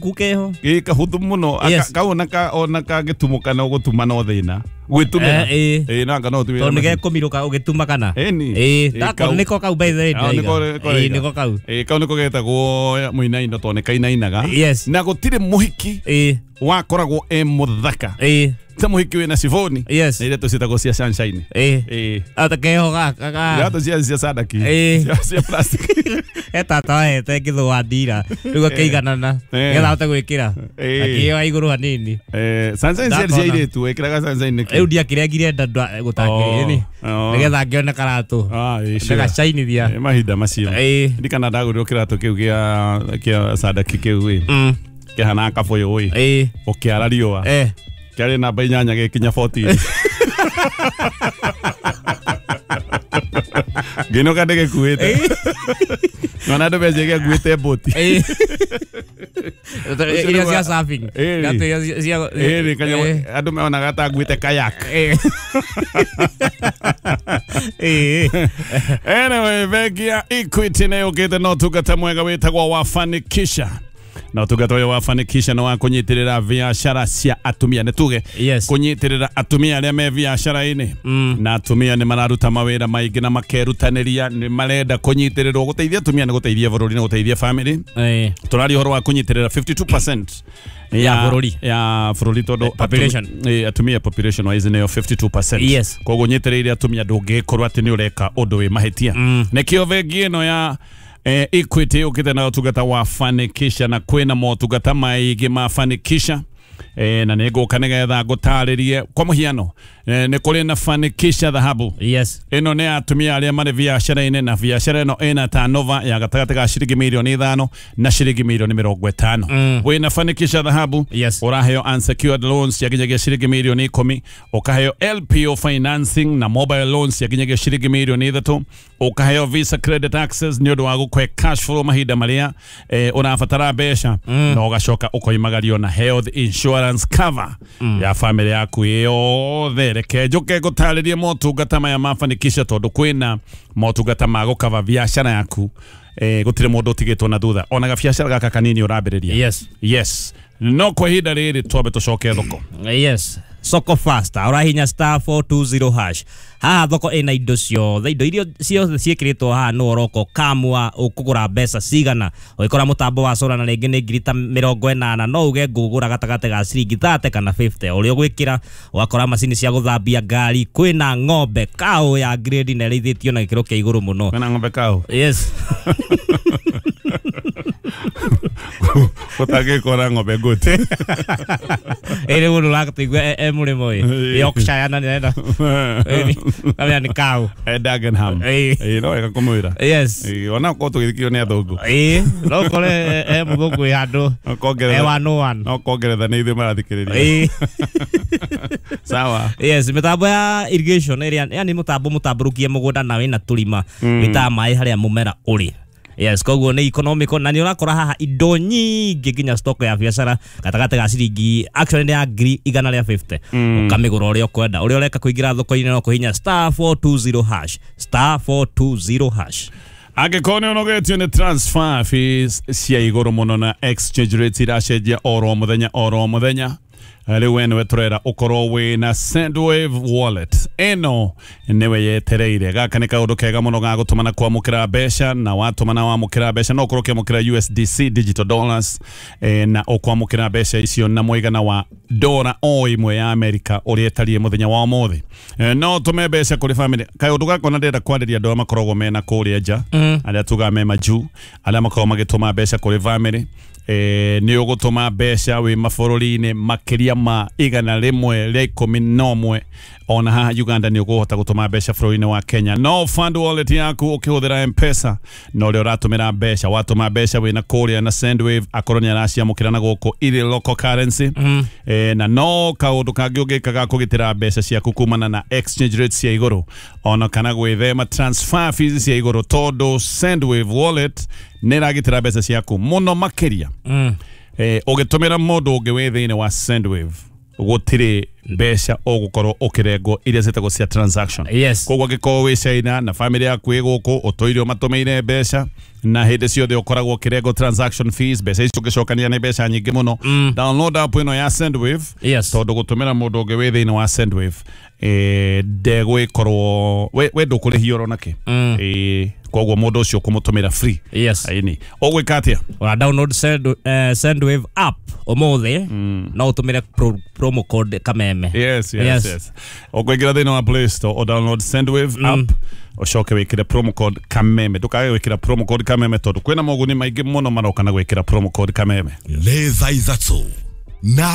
Kahuku keho. Ĩ kahũthũ mũno. Yes. Kau ona ona kangĩtumũka no gũtuma no thĩna gwĩtumĩra. Ĩ. Ĩ nanga no ũtumĩre Tondũ nĩ macini. gekũmirũka ũgĩtuma kana. Ĩni. Ĩ, Ĩ, ndako kau. nĩko kau by the way Ah, ndĩraiga. nĩko Ĩ, nĩko kau. Ĩ, kau nĩko getagwo mũinaino tondũ nĩ kainainaga. Yes. Na gũtirĩ mũhiki Ĩ. wakoragwo e mũthaka Ĩ. ta mũhiki wĩna ciboni Yes. na iretũ ciĩtagwo cia sunshine. Ĩ. Ĩ. Ata keho gaka ga. Iratũ cia sadaki. Ĩ. Cia plastic. He tata wahete ngĩthũa ndira rĩu akĩiganana Eh. nĩgetha ahote gwĩkĩra. Eh. Akĩoya igũrũ hanini. Sunshine ciarĩ cia Ndakona. airĩtu wĩkĩraga sunshine nĩkĩ? Rĩu ndiakĩrengire nda gũtakĩrĩ Oh. nĩgetha ngĩone karatũ. Ah, ĩ, sure. Ndagacainithia. Ĩ, mahinda macio. Ĩ. Ndirikana ndagũrirwo kĩratũ kĩu gĩa sadaki kĩu ĩ. Kĩhanaga kabũyũ ĩ. Ĩ. Ũkĩara riũa. Eh. Kĩarĩ namba 8 gĩkinya 14. Ngĩinũka ndĩgĩkuĩte. Nona andũ meciria gĩakuĩte mbũti. Ĩ. Iria cia surfing. Ĩ. Iratũ iria cia Ĩ, kanyamũ andũ meonaga ta nguĩte kayak. Ĩ. Ĩ. Anyway, bengi ya Equity nĩ yũkĩte na ũtungata mwega wĩtagwo wa Fanikisha. Na ũtungata ũyũ wa Fanikisha nĩ wa kũnyitĩrĩra biacara cia atumia, nĩ tuge Yes. kũnyitĩrĩra atumia arĩa me biacara-inĩ. Na atumia nĩ mararuta mawĩra maingĩ na makerutanĩria, nĩ marenda kũnyitĩrĩrwo. Gũteithia atumia nĩ gũteithia bũrũri, nĩ gũteithia family. Ĩ. Tũraria ũhoro wa kũnyitĩrĩra 52% Ya bũrũri. ya bũrũri tondũ Population. Atumia population wise nĩyo 52%. Yes. Koguo nyitĩrĩire atumia ndũngĩkorwo atĩ nĩ ũreka ũndũ wĩ mahĩtia. Nĩkĩo bengi ĩno ya Equity yũkĩte na ũtungata wa Fanikisha, na kwĩna motungata maingĩ ma Fanikisha. Na nĩ ngũka nĩgetha ngũtarĩrie kwa mũhiano. Nĩ kũrĩ na Fanikisha dhahabu. Yes. Ĩno nĩ atumia arĩa marĩ biacara-inĩ, na biacara ĩno ĩna turnover ya gatagatĩ ga ciringi mirioni 5 na ciringi mirioni 50. Wĩna Fanikisha dhahabu. Yes. Ũraheo unsecured loans cia nginyagia ciringi mirioni 10, ũkaheo LPO financing na mobile loans cia nginyagia ciringi mirioni 3, ũkaheo Visa credit access nĩ ũndũ wa gũkũhe cash flow mahinda marĩa ũrabatara mbeca, na ũgacoka ũkoimagario na health insurance cover ya family yaku yothe. Reke njũke ngũtarĩrie motungata maya ma Fanikisha tondũ kwĩna motungata ma gũkava biacara yaku. Gũtirĩ mũndũ ũtigĩtwo na thutha, ona gabiacara gaka kanini ũrambĩrĩria. Yes. Yes. No kwa ihinda rĩrĩ twambe tũcoke thoko. Yes. Soko faster ũrahinya star 420 hash. Haha thoko ĩna indo ciothe, indo iria ciothe ciĩkĩrĩtwo haha nĩ ũroka ũkamua ũkũgũra mbeca cigana. Ũgĩkora mũtambo wa solar na rĩngĩ nĩ ngiri ta 80, no uge ngũgũra gatagatĩ ga ciringi 30 kana 50. Ũrĩa ũgwĩkĩra ũgakora macini cia gũthambia ngari, kwĩna ng'ombe cow ya grade na ĩrĩithĩtio na gĩkĩro kĩa igũrũ mũno. Kwĩna ng'ombe cow. Yes. Ũtangĩkora ng'ombe goat. Ĩrĩ mũndũ ũratũigua e mũrĩmo ĩ. Yorkshire na nĩarenda. Kamenya nĩ cow. Dagenham. Ĩ. Ĩ, no wega kũmwĩra. Yes. Ĩ, ona korwo tũgĩthikio nĩ athũngũ. Ĩ, no ũkore e mũthũngũ wĩ handũ. No kongerera- E one o one. No kongeretha nĩ ithuĩ marathikĩrĩria. Ĩ. Sawa. Yes, mĩtambo ya irrigation ĩrĩa yani mũtambo mũtambũrũkie mũgũnda na wĩna tũrima wĩtaga maĩ harĩa mũmera ũrĩ. Yes, koguo nĩ economical na nĩ ũrakora haha indo nyingĩ nginya stock ya biacara gatagatĩ ga ciringi actually nĩ ya ngiri 150. Ũkamĩgũra ũrĩa ũkwenda. Ũrĩa ũreka kũingĩra thoko-inĩ no kũhinya star 420 hash, star 420 hash. Angĩkorwo nĩ ũnogetio nĩ transfer fees cia igũrũ mũno na exchange rates iracenjia oro mũthenya oro mũthenya, rĩu we nĩwe tũrera ũkorwo wĩna Sendwave wallet. Ĩno nĩwe yetereire. Gaka nĩ kaũndũ kega mũno ga gũtũma na kwamũkĩra mbeca, na watũma na wamũkĩra mbeca no ũkorwo ũkĩamũkĩra USDC digital dollars, na ũkwamũkĩra mbeca icio na mũigana wa dora o ĩmwe ya Amerika ũrĩa ĩtariĩ mũthenya wa ũmũthĩ. No ũtũme mbeca kũrĩ family. Kaũndũ gaka ona ndĩrenda kwarĩria andũ arĩa makoragwo mena kũrĩa nja, arĩa tugaga me majuu, arĩa makoragwo magĩtũma mbeca kũrĩ family. Nĩ ũgũtũma mbeca wĩ mabũrũri-inĩ makĩria ma 111, ona haha Uganda nĩ ũkũhota gũtũma mbeca bũrũri-inĩ wa Kenya. No fund wallet yaku ũkĩhũthĩra M-Pesa, na ũrĩa ũratũmĩra mbeca, watũma mbeca wĩna kũrĩa na Sendwave akorwo nĩ araciamũkĩra na gũkũ irĩ local currency. Na no kaũndũ kangĩ ũngĩka ga kũgitĩra mbeca ciaku kumana na exchange rates cia igũrũ, ona kana gwĩthema transfer fees cia igũrũ, tondũ Sendwave wallet nĩ ĩragitĩra mbeca ciaku mũno makĩria. Ũgĩtũmĩra mũndũ ũngĩ wĩ thĩinĩ wa Sendwave, gũtirĩ mbeca ũgũkorwo ũkĩrengwo iria ciĩtagwo cia transaction. Yes. Koguo angĩkorwo wĩ China na family yaku ĩ gũkũ ũtũire ũmatũmĩire mbeca, Na hĩndĩ ciothe ũkoragwo ũkĩrengwo transaction fees, mbeca icio ũngĩcokania nĩ mbeca nyingĩ mũno. Download app ĩno ya Sendwave. Yes. Tondũ gũtũmĩra mũndũ ũngĩ wĩ thĩinĩ wa Sendwave ndegwĩkorwo we ndũkũrĩhio oro nakĩ. Koguo mũndũ ũcio ũkũmũtũmĩra free. Yes. Aini ũgwĩka atĩa? Ora download Sendwave app ũmũthĩ, no ũtũmĩre promo code Kameme. Yes, yes, yes. Ũkũingĩra thĩinĩ wa Play Store o download Sendwave app, ũcoke wĩkĩre promo code Kameme. Ndũkage gwĩkĩra promo code Kameme tondũ kwĩna moguni maingĩ mũno maroka na gwĩkĩra promo code Kameme. Nĩ thaa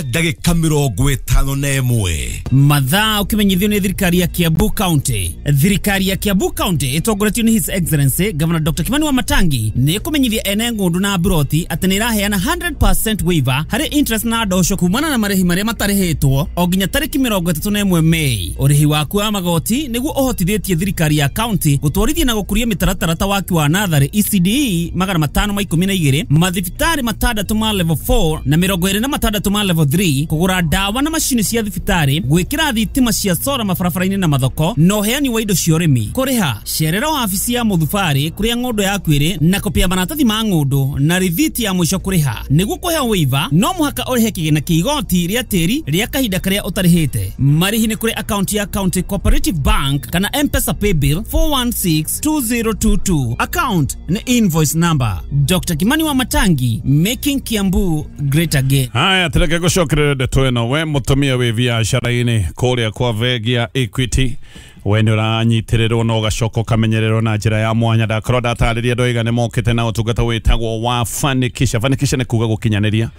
3:51. Mathaa ukimenyithio nĩ thirikari ya Kiambu County. Thirikari ya Kiambu County ĩtongoretio nĩ His Excellency Governor Dr. Kimani Wamatangi nĩ ĩkũmenyithia ene ng'ũndũ na mburoti atĩ nĩ ĩraheana 100% waiver harĩ interest na ndosho kumana na marĩhi marĩa matarĩhĩtwo o nginya tarĩki 31 Mei. Ũrĩhi waku wa magoti nĩguo ũhotithĩtie thirikari ya county gũtwarithia na gũkũria mĩtaratara ta waki wa natharĩ ECDE 512, mathibitarĩ 6 ma level 4 na 26 ma level 3, kũgũra ndawa na macini cia thibitarĩ, gwĩkĩra thitima cia sora mabarabara-inĩ na mathoko, na ũheani wa indo cia ũrĩmi. Kũrĩha cerera wabici ya mũthubarĩ kũrĩa ng'ũndũ yaku ĩrĩ na kopia maratathi ma ng'ũndũ na rithiti ya mũico kũrĩha. Nĩguo kũheo waiver no mũhaka ũrĩhe kĩgĩna kĩa igoti rĩa tĩri rĩa kahinda karĩa ũtarĩhĩte. Marĩhi nĩ kũrĩ akaunti ya County Cooperative Bank kana M-Pesa Paybill 4162022. Account nĩ invoice number. Dr. Kimani Wamatangi, making Kiambu great again. Haya, tureke gũcokerera ndeto ĩno. We mũtumia wĩ biacara-inĩ kũrĩa kwa bengi ya Equity, we nĩ ũranyitĩrĩrwo na ũgacoka ũkamenyererwo na njĩra ya mwanya. Ndakorwo ndatarĩria ndoiga nĩ mokĩte na ũtungata wĩtagwo wa Fanikisha. Fanikisha nĩ kuga gũkinyanĩria,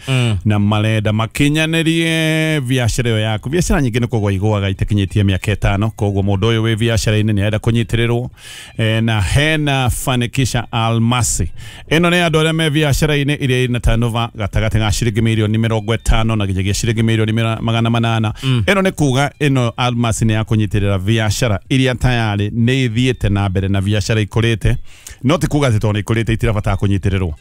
na marenda makinyanĩrie biacara ĩyo yaku. Biacara nyingĩ nĩ kũgwa igũaga itakinyĩtie mĩaka 5, koguo mũndũ ũyũ wĩ biacara-inĩ nĩ arenda kũnyitĩrĩrwo. Na hena Fanikisha Almasi. Ĩno nĩ andũ arĩa me biacara-inĩ iria ina turnover gatagatĩ ga ciringi mirioni 50 na nginyagia ciringi mirioni 800. Ĩno nĩ kuga ĩno Almasi nĩ ya kũnyitĩrĩra biacara iria tayari nĩ ithiĩte na mbere na biacara ikũrĩte, no ti kuga atĩ tondũ nĩ ikũrĩte itirabatara kũnyitĩrĩrwo.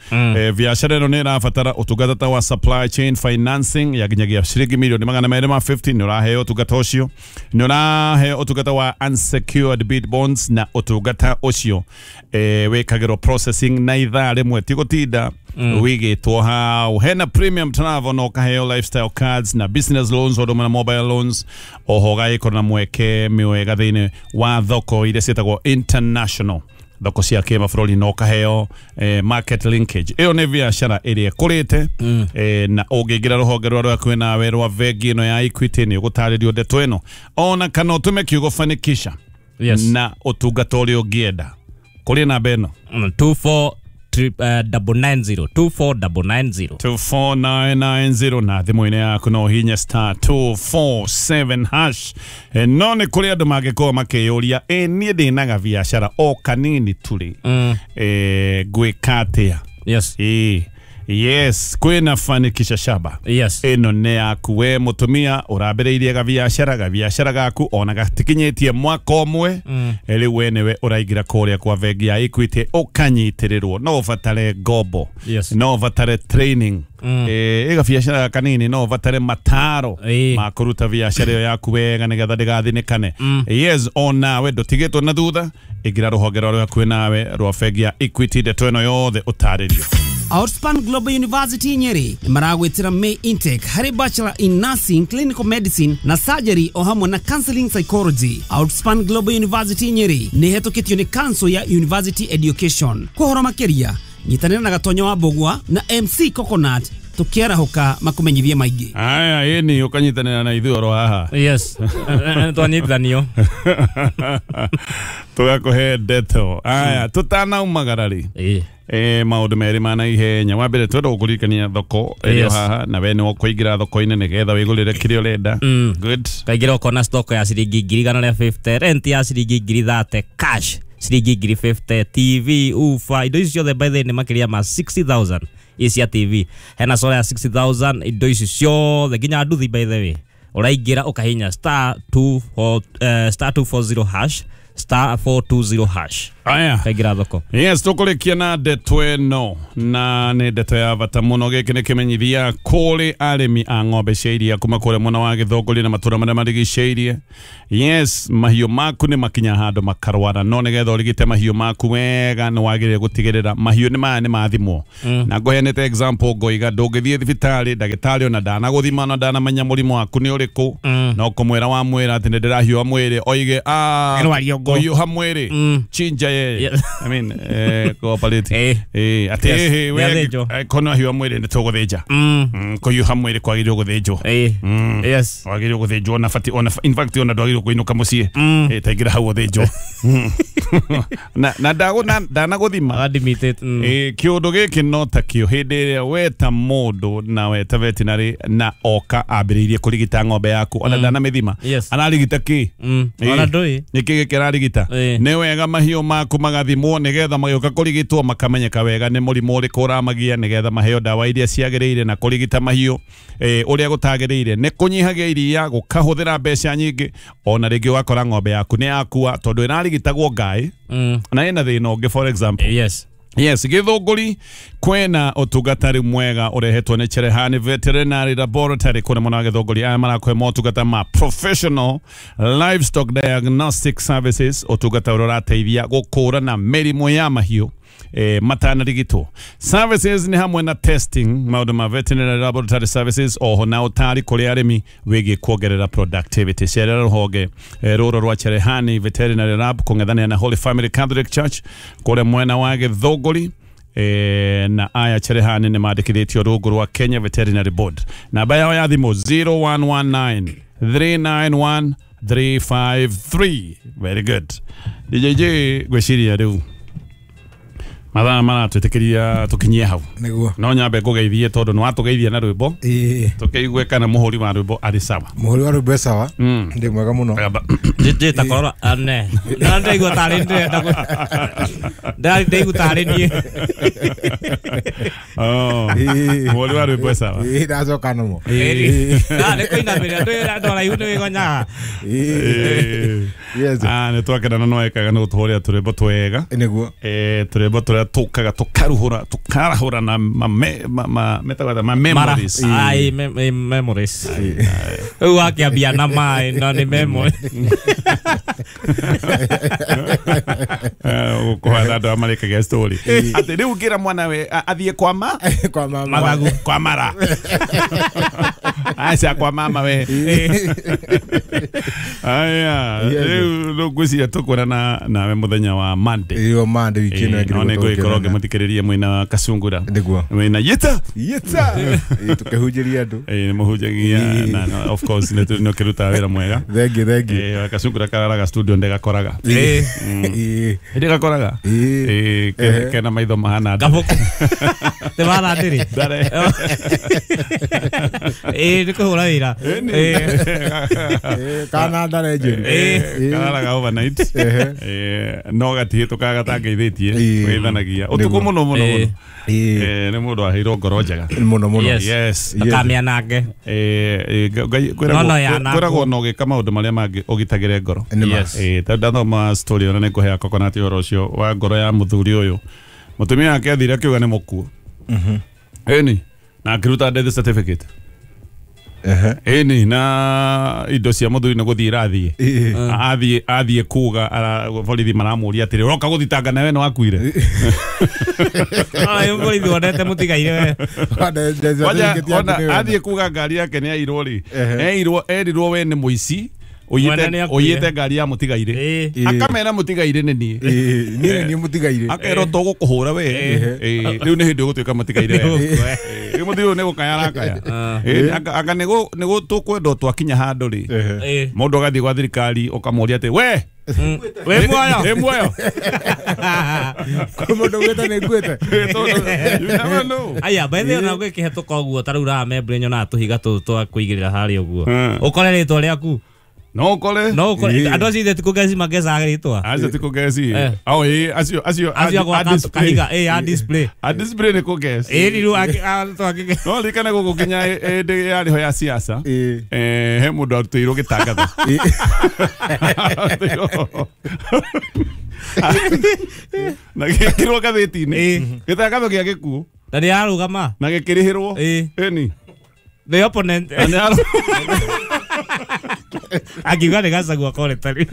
Biacara ĩno nĩ ĩrabatara ũtungata ta wa supply chain financing ya nginyagia ciringi mirioni 250. Nĩ ũraheo ũtungata ũcio, nĩ ũraheo ũtungata wa unsecured bid bonds, na ũtungata ũcio wĩkagĩrwo processing na ithaa rĩmwe, ti gũtinda wigĩtwo hau. Hena premium travel na ũkaheo lifestyle cards na business loans o na mobile loans, oho ũgagĩkorwo na mweke mwega thĩinĩ wa thoko iria ciĩtagwo international, thoko cia kĩmabũrũri, na ũkaheo market linkage. Ĩyo nĩ biacara ĩrĩa ĩkũrĩte, na ũngĩingĩra rũhonge rwa rwaku nawe rwa bengi ĩno ya Equity nĩ ũgũtarĩrio ndeto ĩno, ona kana ũtũme kiugo Fanikisha. Yes. Na ũtungata ũrĩa ũngĩenda kũrĩ namba ĩno 24990 24990 24990 na thimũ-inĩ yaku no ũhinye star 247 hash. No nĩ kũrĩ andũ mangĩkorwo makĩyũria, niĩ ndĩnaga biacara o kanini turĩ, ngwĩka atĩa? Yes. Yes, kwĩna Fanikisha Shaba. Yes. Ĩno nĩ yaku we mũtumia ũrambĩrĩirie gabiacara gaku ona gatikinyĩtie mwaka ũmwe, rĩu we nĩwe ũraingĩra kũrĩa kwa bengi ya Equity ũkanyitĩrĩrwo. No ũbatare ngombo. Yes. No ũbatare training. Ĩga biacara kanini no ũbatare mataro ma kũruta biacara ĩyo yaku wega nĩgetha ndĩgathinĩkane. Yes, onawe ndũtigĩtwo na thutha, ingĩra rũhonge rwa rwaku nawe rwa bengi ya Equity ndeto ĩno yothe ũtarĩrio. Outspan Global University Nyeri maragwitira May intake harĩ Bachelor in Nursing, Clinical Medicine na Surgery o hamwe na Counseling Psychology. Outspan Global University Nyeri nĩ ĩhetũkĩtio nĩ Council ya University Education. Kũhoro makĩria nyitanĩra na Gatonyo wa Mbũgua na MC Coconut tukiarahũka makũmenyithie maingĩ. Aya, ĩni ũkanyitanĩra na ithuĩ oro haha. Yes. Twanyitithanio. Tũgakũhe ndeto. Aya, tũtanaumagara rĩ. Maũndũ merĩ ma naihenya. Wa mbere twenda gũkũririkania thoko ĩrĩ haha, na we nĩ ũkũingĩra thoko-inĩ nĩgetha wĩgũrĩre kĩrĩa ũrenda. Good. Kaingĩra ũkona stock ya ciringi 150,000, rent ya ciringi 30,000, cash ciringi 50,000, TV, ufa, indo ici ciothe by the way nĩ makĩria ma 60,000 ici cia TV. Hena solar ya 60,000, indo ici ciothe nginya nduthi by the way. Ũraingĩra ũkahinya star 240 hash star 420 hash Aya. Kaingĩra thoko. Yes, tũkũrĩkia na ndeto ĩno, na nĩ ndeto ya bata mũno. Gĩkĩ nĩ kĩmenyithia kũrĩ arĩmi a ng'ombe cia iria kuma kũrĩa mwena wa Gĩthũngũri na matũra marĩa marigicĩirie. Yes, mahiũ maku nĩ makinya handũ makarwara, no nĩgetha ũrigite mahiũ maku wega nĩ wagĩrĩire gũtigĩrĩra mahiũ nĩ maya nĩ mathimwo. Na ngũheanĩte example ngoiga ndũngĩthiĩ thibitarĩ ndagĩtarĩ ona ndanagũthima ona ndanamenya mũrimũ waku nĩ ũrĩkũ, no kũmwĩra wamwĩra atĩ nĩ ndĩrahiũha mwĩrĩ oige kũhiũha mwĩrĩ chinja ye. I mean, cooperative. Ati we kono hiyo mwiri nĩ tũgũthĩnja. Kũhiũha mwĩrĩ kwagĩrĩirwo gũthĩnjwo. Yes. Wagĩrĩirwo gũthĩnjwo na bati ona in fact ona ndwagĩrĩirwo kũinũka mũciĩ. Taingĩra hau ũthĩnjwo. Na ndanagũthima. Admitted. Kĩũndũ gĩkĩ no ta kĩo hĩndĩ ĩrĩa weta mũndũ na weta veterinary na oka ambĩrĩirie kũrigita ng'ombe yaku ona ndanamĩthima. Ararigita kĩ? Ona ndũĩ. Nĩkĩ gĩkĩ ararigita? Nĩ wega mahiũ maku magathimwo nĩgetha magĩũka kũrigitwo makamenyeka wega nĩ mũrimũ ũrĩkũ ũramagia nĩgetha maheo ndawa iria ciagĩrĩire na kũrigita mahiũ ũrĩa gũtagĩrĩire nĩ kũnyihagia iria gũkahũthĩra mbeca nyingĩ ona rĩngĩ ũgakora ng'ombe yaku nĩ yakua tondũ ĩrarigitagwo ngaĩ na ĩna thĩna ũngĩ for example. Yes. Yes, Gĩthũngũri kwena ũtungata rĩu mwega ũrehetwo nĩ Cherehani Veterinary Laboratory kũrĩa mwena wa Gĩthũngũri. Aya marakũhe motungata ma professional livestock diagnostic services, ũtungata ũrĩa ũrateithia gũkũrana mĩrimũ ya mahiũ matanarigitwo. Services nĩ hamwe na testing, maũndũ ma veterinary laboratory services, oho na ũtari kũrĩ arĩmi wĩgiĩ kuongerera productivity. Cerera rũhonge rũrũ rwa Cherehani Veterinary Lab kũng'ethanĩra na Holy Family Catholic Church kũrĩa mwena wa Gĩthũngũri. Na aya Cherehani nĩ mandĩkithĩtio rungu rwa Kenya Veterinary Board. Namba yao ya thimũ 0119 391 353. Very good. DJJ ngwĩciria rĩu mathaa maratwĩtĩkĩria tũkinyie hau. Nĩguo. No nyambe ngũgeithie tondũ nĩ watũgeithia na rwĩmbo. Tũkĩigue kana mũhũri wa rwĩmbo arĩ sawa. Mũhũri wa rwĩmbo e sawa. Ndĩ mwega mũno. Njĩta korora ane. Na ndaigua tarĩ ndĩrenda. Ndaigua tarĩ niĩ. Mũhũri wa rwĩmbo e sawa. Ndacoka nomo. Na nĩ kũinamĩrĩra ndĩ andũ araihu nĩ wĩgonyaga. Yes. Nĩ twakena na no ekaga nĩ gũtũhũrĩra tũrwĩmbo twega. Nĩguo. Tũrwĩmbo tũrĩa tũkaga tũkaruhũra tũkarahũra na ma memories. Ai memories. Rĩu wakĩambia na maĩ no nĩ memory. Kũhana andũ arĩa marĩkagia story. Atĩ rĩu ngĩra mwana we athiĩ kwa ma kwa mama mathagu kwa mara. Aca kwa mama we. Aya rĩu ngwĩciria tũkuonana nawe mũthenya wa Monday. Iyo Monday wiki ĩno ĩngĩ. No nĩ ngũgĩkorwo ngĩmũthikĩrĩria mwĩna Kasungura. Nĩguo. Mwĩna Yita. Yita. Tũkĩhunjĩria andũ. Nĩ mũhunjagia na of course nĩ ũkĩrutaga wĩra mwega. Thank you, thank you. Kasungura kararaga studio ndĩgakoraga. Ndĩgakoraga. Kena maitho mahana Gabuku. Te mara ndĩrĩ. Nĩ kũhũra wĩra. Kana ndare njũru. Kararaga overnight. No gatihĩtũkaga gatangĩithĩtie. Wĩthanagia. Ũtukũ mũno mũno mũno. Nĩ mũndũ aheirwo ngoro njega. Mũno mũno. Yes. Ndũkamĩanange. Kwĩragwo no ũgĩka maũndũ marĩa mangĩ ũgitagĩre ngoro. Yes. Tondũ ndathoma story ona nĩngũhea coconut ũhoro ũcio wa ngoro ya mũthuri ũyũ. Mũtumia wake athire akiuga nĩ mũkuũ. Ĩni na akĩruta death certificate. Ĩni na indo cia mũthuri nĩ gũthiĩ irathiĩ. Athiĩ kuga borithi maramũria atĩrĩ ũroka gũthitanga nawe nĩ wakuire. Ũyũ borithi wonete mũtigaire we. Athiĩ kuga ngari yake nĩ yairwo rĩ. Erirwo we nĩ mũici. Ũiyĩte ngari ya mũtigaire. Akamera mũtigaire nĩ niĩ. Niĩ nĩ mũtigaire. Akerwo tũgũkũhũra we. Rĩu nĩ hĩndĩ ũgũtuĩka mũtigaire we. Rĩu mũthuri ũyũ nĩ gũkaya arakaya. Anga nĩ tũkwenda twakinya handũ rĩ. Mũndũ agathiĩ gwa thirikari ũkamũria atĩ we we muoyo. Wĩ muoyo. Kwĩ mũndũ ũgwĩte nĩ nguĩte. You never know. Aya by the way ona gwĩkĩhetũka ũguo ta rĩu ramembre nyonaga tũhiga tũtũ twa kũigĩrĩra harĩa ũguo. Ũkore rĩtwa rĩaku No kore. No kore andũ acio ithe ti kũgeci magecaga rĩtwa. Acio ti kũgeci. Eh. Ao ĩ acio acio Acio a gwaka kahiga ĩ a display. A display nĩ kũgeci. Ĩ rĩu twangĩ No ririkane gũkũ kinya hĩndĩ yarĩho ya siasa. Ĩ. Eh, he mũndũ arutĩirwo gĩtangatho. Arutĩirwo. Na gĩkĩrwo ngathĩti-inĩ. Gĩtangatho gĩa gĩkuũ na nĩ ararũgama. na gĩkĩrĩhĩrwo. Ĩ. Ĩni. The opponent Na nĩ arũ- akiuga nĩ Gachagua koretari.